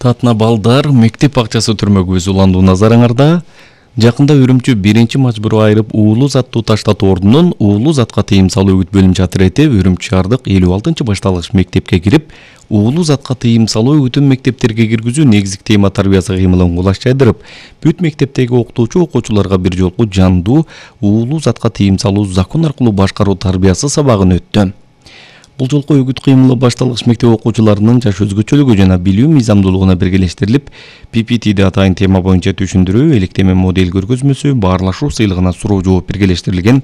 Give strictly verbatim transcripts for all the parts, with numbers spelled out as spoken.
Татна балдар мектеп акчасы түрмөгүбүз уландуу назарыңарда. Жакында Үрүмчү биринчи мажбуру айрып уулуу заттуу таштатуу ордунун уулуу затка тыйым салуу үгүт бөлүмчө отряды Үрүмчү шаардык элүү алтынчы башталгыч мектепке кирип, уулуу затка тыйым салуу үгүтүн мектептерге киргизүү негизги тема тарбиясы кыймылын кулаш жайдырып, бүт мектептеги окутуучу окуучуларга бир жолку жандуу уулуу затка тыйым салуу закон аркылуу башкаруу тарбиясы сабагын өттү. Бул жолку үгүт кыймылы башталгыч мектеп окуучуларынын жаш өзгөчөлүгү жана билүү мыйзамдуулугуна биргелештирилип, пи пи ти атайын тема боюнча түшүндүрүү, электеме модель көргөзмөсү, баарлашуу сыйлыгына суроо жооп биргелештирилген.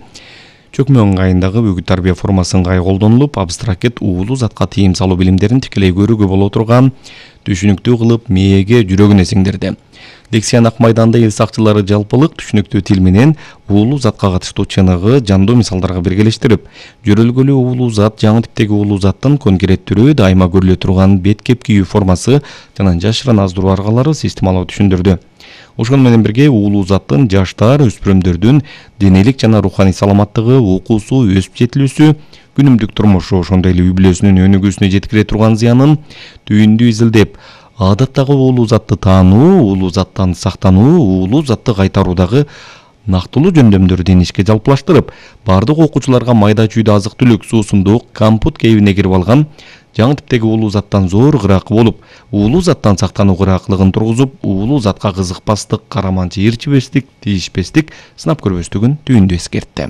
Чөкмө ыңгайындагы үгүт тарбия формасы ыңгай колдонулуп, абстракт уулуу затка тыйым салуу билимдерин тикелей көрүүгө боло турган, түшүнүктүү кылып мээге, жүрөгүнө сиңдирди. Лексиянын ак майданда эл сакчылары жалпылык түшүнүктүү тил менен уулуу затка катыштуу чыныгы, жандуу мисалдарга биргелештирип, жөрөлгөлүү уулуу зат, жаңы типтеги уулуу заттын конкреттүүрү, дайыма көрүлө турган бет кеп кийүү формасы жана жашырын аздыруу аргалары системалуу түшүндүрдү. Ошону менен бирге уулуу заттын жаштар, өспүрүмдөрдүн денелик жана руханий саламаттыгы, окуусу, өсүп жетилүүсү, күнүмдүк турмушу, ошондой эле үй бүлөсүнүн өнүгүүсүнө жеткире турган зыянын түйүндүү изилдеп, адаттагы уулуу затты таануу, уулуу заттан сактануу, уулуу затты кайтаруудагы нактылуу жөндөмдөрдү инишке жалпылаштырып, бардык окуучуларга майда чүйдө азык-түлүк, суусундук, компот кебине кирип алган жаңы типтеги уулуу заттан зор кыракы болуп, уулуу заттан сактануу кыракылыгын тургузуп, уулуу затка кызыкпастык, караманчы ээрчибестик, тийишпестик, сынап көрбөстүгүн түйүндүү эскертти.